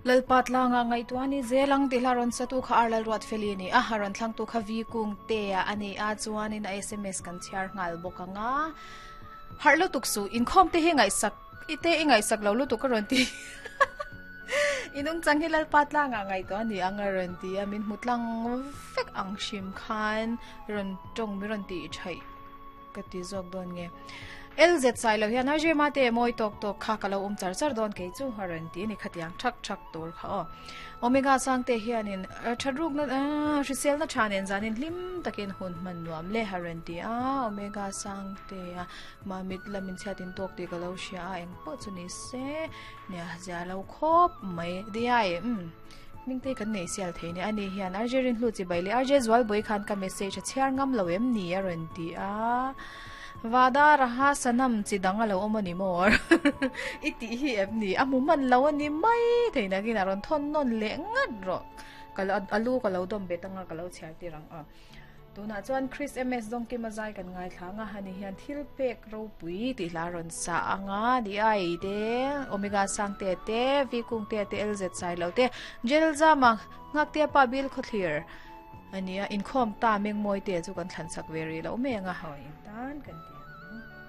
Lalpa tlanga ngaihtuah a ni zel ang tih hla rawn satu kha Ar Lalruatfeli a ni a, a rawn thlangtu kha Vi Kungtea a ni a, chuanin a sms kan chhiar nghal bawk ang a. Harh lutuk suh, inkhawm te hi ngaihsak i te i ngaihsak lo lutuk a rawn ti. I nungchang hi Lalpa tlangah ngaihtuah a ni ang a rawn ti a, min hmu tlang vek ang hrim khan rawn tawng min rawn tih thaih ka ti zawk dawn nge. LZ sai lo hian RJ Mate mawi tawk tawk kha ka lo awm char char dawn kei chu a rawn ti a ni khatiang thak thak tur kha aw. Omega Sangte hianin that rukna hriselna tha nen zanin hlim takin hun hman nuam le a rawn ti a, Omega Sangte a mamit lamin chhiatin tawk tih ka lo hria a engpawh chu ni se nia zia lo khawp mai diai umm hmingte kan nei sial thei nia ani hian RJ Rinhlu chibai leh RJ Zualbawi khan ka message a chhiar ngam lo em ni a rawn ti a. Vada Raha Sanam chi dang a lo awm a ni maw? I tih hi em ni? A hmu hman lo a ni mai thei nakin a rawn thawn nawn leh ngat rawh. Ka lo a lu ka lo dawm bet anga ka lo chhiar tir ang a. Tunah chuan Chris MS Dawngkima zai kan ngaithla ang a, hani hian thil pek ropui tih hla a rawn sa ang a, di ai te, Omega Sangte te, V Kungte te, LZ Sailo te, Jel Zama, Nghaktea Pa Bil Khawthlir, A nia, inkhawm ta Mengmawi te chu kan thlan sak ve rih loh mai ang a, haw in tan kan ti.